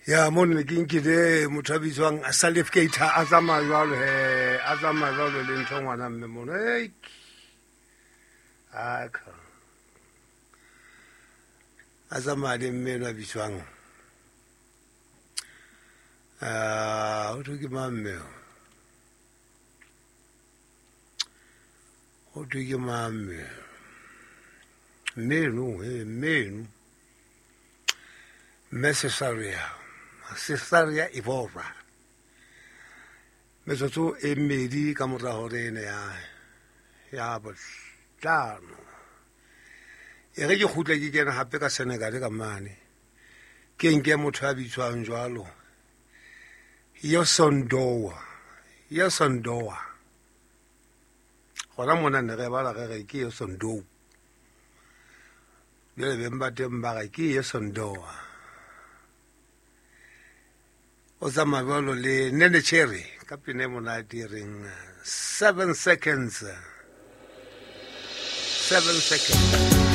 Ya mo ne ke nkile motho a bitswang Salif Keita a tsamaya jwalo he, a tsamaya jwalo le ntho ngwana mme mono. Aka a tsamaya le mme eno a bitswang ho thwe ke mang mme o? Ho thwe ke mang mme? Mme eno, mme eno. Mme Cesaria, Cesaria Evora. Metsotso e mmedi ka mora hore ene ya ya bohlano. E re ke kgutle ke kene hape ka Senegal ka mane. Ke nke motho ya bitswang jwalo. Yosondoa. Yosondoa. Gona mona ne re bala re re ke Yosondou. Jale beng ba teng ba re ke Yosondoa. O tsamaya jwalo le Nene Cherry ka pina e monate e reng 7 seconds. 7 seconds.